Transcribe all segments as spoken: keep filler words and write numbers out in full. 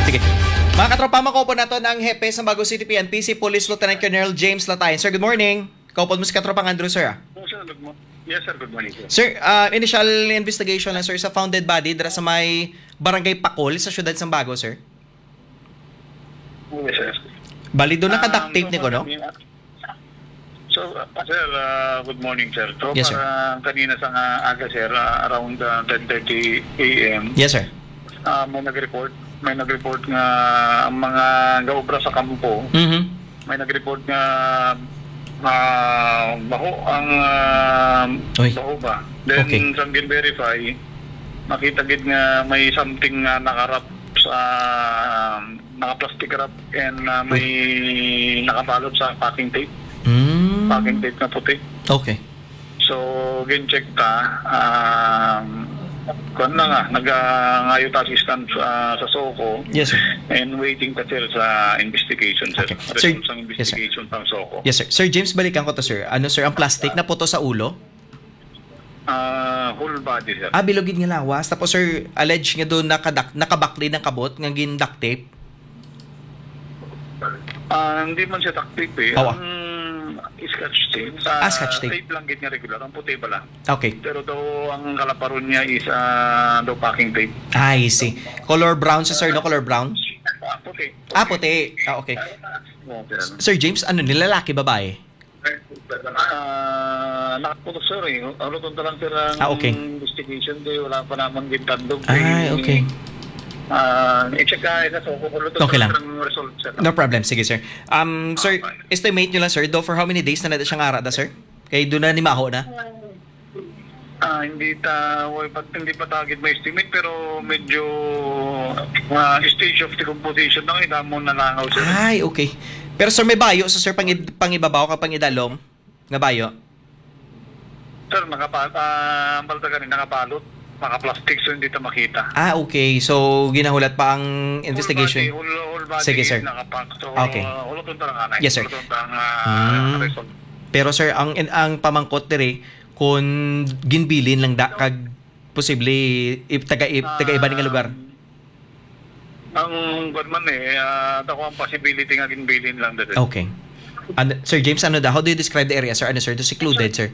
Sige. Mga katropa, makaupod naton ang hepe sa Bago City P N P, si Police Lieutenant Colonel James Latayan. Sir, good morning. Kaupod mo si katropang Andrew, sir, ah. Yes, sir. Good mo-, yes, sir. Good morning, sir. Sir, ah, initial investigation lang, sir, sa found dead body dira sa may Barangay Pakol sa siyudad sang Bago, sir. Yes, sir. Bali, doon naka-duct Um, tape so, ni ko, no? So, uh, sir, uh, good morning, sir. So, Yes, sir. para kanina sa nga aga, sir, uh, around, uh, ten thirty A M, Yes, sir. uh, may nag-report, may nag-report nga ang mga gaobra sa kampo, Mhm. may nag-report nga, uh, baho ang, uh, Oy. baho ba? Then, Okay. sa gin-verify, makita gid nga may something nga nakarap sa, naka-plastic wrap and, uh, may Uy. nakabalot sa packing tape. Mm. Packing tape na puti. Okay. So, gin-check ta, um, kuwan na nga, nag-, ah, ngayo ta assistance, ah, sa SOCO Yes, sir. and waiting ta, sir, sa investigation, sir. Okay. Result Sir, sang yes, sir. investigation sang SOCO. Yes, sir. Sir James, balikan ko to, sir. Ano, sir, ang plastic na puto sa ulo? Ah, whole body, sir. Ah, bilog gid nga lawas. Tapos, sir, alleged nga doon nakadak-, nakabakli ng kabot nga gin-duct tape. Ah, hindi man siya duct tape eh. Awa. Ang scotch tape, Ah, ah, scotch tape. tape lang gid nga regular, ang puti pala. Okay. Pero daw ang kalaparon niya is, ah, daw packing tape. I see. Color brown siya, sir, no? Color brown? Ah, puti. Ah, puti. Ah, okay. Okay. Sir James, ano, nilalaki, babae? Ah, nakaputo, sir, eh. Ano to lang, sir, ang Ah, okay. investigation, di, wala pa naman gintandog, Ay, eh. okay. Ah, i-check ka, eh, sa SOCO, kung ano to, Okay sir, lang. ang result, sir. No problem. Sige, sir. Um, sir, Okay. estimate nyo lang, sir, do for how many days na na siyang ara da, sir? Kay doon na ni Maho na? Ah, hindi ta, wala pa, hindi pa ta gid ma-estimate, pero medyo, ah, stage of decomposition na, eh, damo na langaw, sir. Ay, okay. Pero, sir, may bayo sa, sir, pangid-, pangibabaw ka pangidalom? Nga bayo? Sir, nakapa-, ah, ang balta gani, nakabalot, naka-plastic, so hindi ta makita. Ah, okay. So, ginahulat pa ang Whole investigation? body, whole, whole body Sige, is sir. nakapack. So, Okay. uh, hulot unta lang anay. Yes, sir. Hulot unta ang, ah, Hmm. result. Pero, sir, ang, ang pamangkot diri, kung ginbilin lang da, kag posible, i-, taga, i-, taga iba nga lugar? Um, ang, kwan man eh, ah, ako ang possibility nga ginbilin lang dito. Okay. And, Sir James, ano da? How do you describe the area, sir? Ano, sir? Do secluded, sir?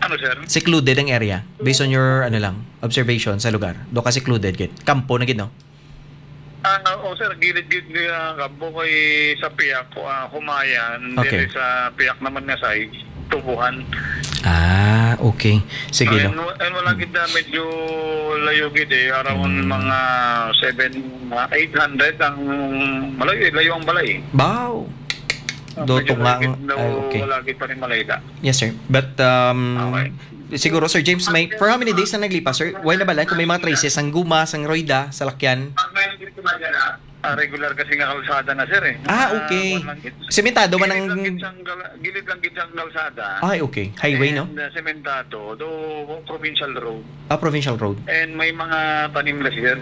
Ano, sir? Secluded ang area, based on your, ano lang, observation sa lugar. Do ka secluded, gid? Kampo na gid, no? Ah, oo, sir. Gilid-gilid nga kampo kay sa piyak, ah, Humayan, Okay. dili sa piyak naman nga side, Tubuhan. Ah, okay. Sige, Ah, no? and wa-, and wala Hmm. gid na medyo layo gid eh, around Hmm. mga seven, mga eight hundred ang malayo eh, layo ang balay. Baw. Ah, Do medyo tunga layo ang, gid na ay, okay. wala gid pa rin malayo da. Yes, sir. But, um, Okay. siguro, Sir James, may, for how many days na naglipas, sir? Wala na ba lang kung may mga traces, ang guma, sang royda, salakyan? Ah, regular kasi nga kalsada na, sir, eh. Ah, Ah, okay. kuwan lang gid. Sementado man Gilid lang ang gid siyang gal-, gilid lang gid siyang kalsada. Ay, okay. Highway, no? And, uh, sementado, though provincial road. Ah, provincial road. And may mga tanim na, sir.